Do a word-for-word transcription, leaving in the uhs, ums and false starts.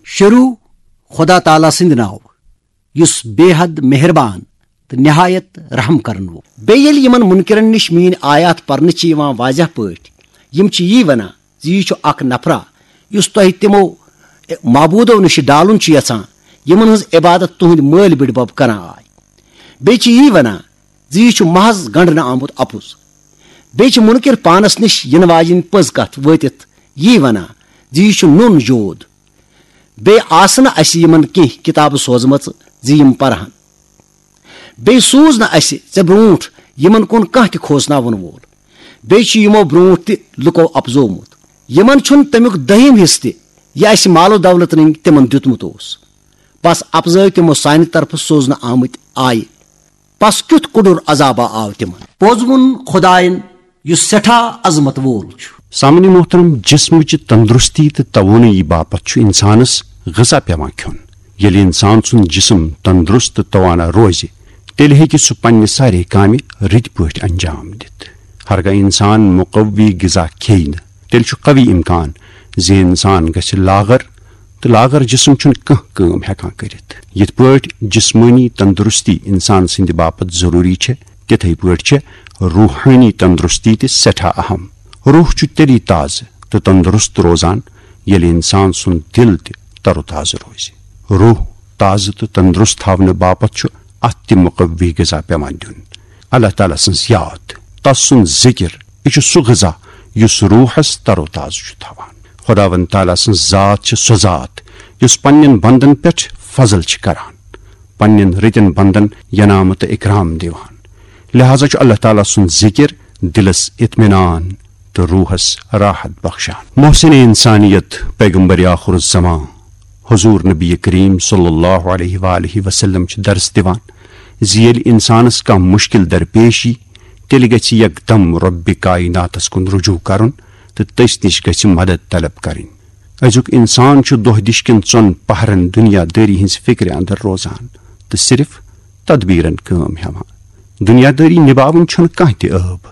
شروع خدا تعالیٰ سٕنٛدِ ناوٕ، یُس بے حد مہربان تہٕ نہایت رحم کرن وول۔ بیٚیہِ ییٚلہِ یِمن منکرن نِش میٲنۍ آیات پرنہٕ چھِ یِوان واضح پٲٹھۍ، یِم چھِ یی ونان زِ یہِ چھُ اکھ نفرا، یُس تۄہہِ تِمو معبوٗدو نِش ڈالُن چھُ یژھان، یِمن ہٕنٛز عبادت تُہنٛدۍ مٲلۍ بٕڈبب کران آے۔ بیٚیہِ چھِ یی ونان زِ یہِ چھُ محض گنڈنہٕ آمُت اپُز۔ بیٚیہِ چھِ منکر پانس نِش یِنہٕ واجیٚنۍ پٔز کتھ وٲتِتھ یی ونان زِ یہِ چھُ نوٚن جود۔ بیٚیہِ آسہٕ نہٕ اسہِ یِمن کینٛہہ کتابہٕ سوزمژٕ زِ یِم پرہن۔ بیٚیہِ سوٗز نہٕ اسہِ ژےٚ برونٛٹھ یِمن کُن کانٛہہ تہِ کھوژناون وول۔ بیٚیہِ چھُ یِمو برونٛٹھ تہِ لُکو اپزومُت۔ یِمن چھُنہٕ تمیُک دٔہِم حصہٕ تہِ، یہِ اسہِ مال و دولت رٔنگۍ تِمن دیُتمُت اوس۔ بس اپزٲوۍ تِمو سانہِ طرفہٕ سوزنہٕ آمٕتۍ آیہِ۔ پس کیُتھ کوٚڈُر عذابا آو تِمن۔ پوٚز ووٚن خداین، یُس سٮ۪ٹھاہ عظمت وول چھُ۔ سامعین محترم، جسمٕچ تندرستی تہٕ توانٲیی باپتھ چھُ انسانس غذا پٮ۪وان کھیوٚن۔ ییٚلہِ انسان سُنٛد جسم تندرست تہٕ توانا روزِ، تیٚلہِ ہیٚکہِ سُہ پننہِ سارے کامہِ رٕتۍ پٲٹھۍ انجام دِتھ۔ ہرگاہ انسان مقوی غذا کھیٚیہِ نہٕ، تیٚلہِ چھُ قوی امکان زِ انسان گژھِ لاغر، تہٕ لاغر جسم چھُنہٕ کانٛہہ کٲم ہٮ۪کان کٔرِتھ۔ یِتھ پٲٹھۍ جسمٲنی تندرستی انسان سٕنٛدِ باپتھ ضروٗری چھےٚ، تِتھے پٲٹھۍ چھےٚ روحٲنی تندرستی تہِ سٮ۪ٹھاہ اہم۔ روح چھُ تیٚلی تازٕ تہٕ تندرست روزان، ییٚلہِ انسان سُنٛد دِل تہِ تر و تازٕ روزِ۔ روح تازٕ تہٕ تندرست تھاونہٕ باپتھ چھُ اتھ تہِ مقوی غذا پٮ۪وان دیُن۔ اللہ تعالیٰ سٕنٛز یاد، تس سُنٛد ذکر، یہِ چھُ سُہ غذا یُس روحس تر و تازٕ چھُ تھاوان۔ خداوند تعالیٰ سٕنٛز ذات چھِ سۄ ذات یُس پننٮ۪ن بندن پٮ۪ٹھ فضل چھِ کران، پننٮ۪ن رٕتٮ۪ن بندن ینامہٕ تہٕ اکرام دِوان۔ لہذا چھُ اللہ تعالیٰ سُنٛد ذکر دلس اطمینان تہٕ روحس راحت بخشان۔ محسن انسانیت پیغمبر آخر الزمان حضور نبی کریم صلی اللہ علیہ وآلہ وسلم چھِ درس دِوان زِ ییٚلہِ انسانس کانٛہہ مشکل درپیش یی، تیٚلہِ گژھِ یکدم رۄبِ کایناتس کُن رجوع کرُن تہٕ تٔسۍ نِش گژھِ مدد طلب کرٕنۍ۔ أزیُک انسان چھُ دۄہ دِش کٮ۪ن ژۄن پہرن دنیا دٲری ہٕنٛز فکرِ اندر روزان تہٕ صرف تدبیرن کٲم ہٮ۪وان۔ دنیا دٲری نباوٕنۍ چھُنہٕ کانٛہہ تہِ عٲب۔